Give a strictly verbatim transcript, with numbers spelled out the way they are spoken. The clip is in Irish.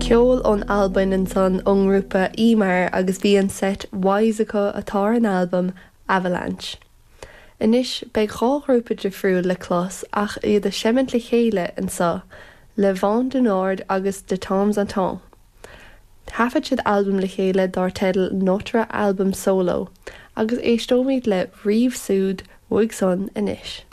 Ceol ón Albain ansan ón ngrúpa Ímar agus bhí an set Wise acu atá ar an albam Avalanche. Anois beidh dhá ghrúpa difriúil le clos ach iad ag seimint le chéile anseo Le Vent du Nord agus De Temps en Temps. Thaifead siad albam le chéile dar teideal Notre Album Solo, agus éisteoimid le Rive Sud uaidh san anois.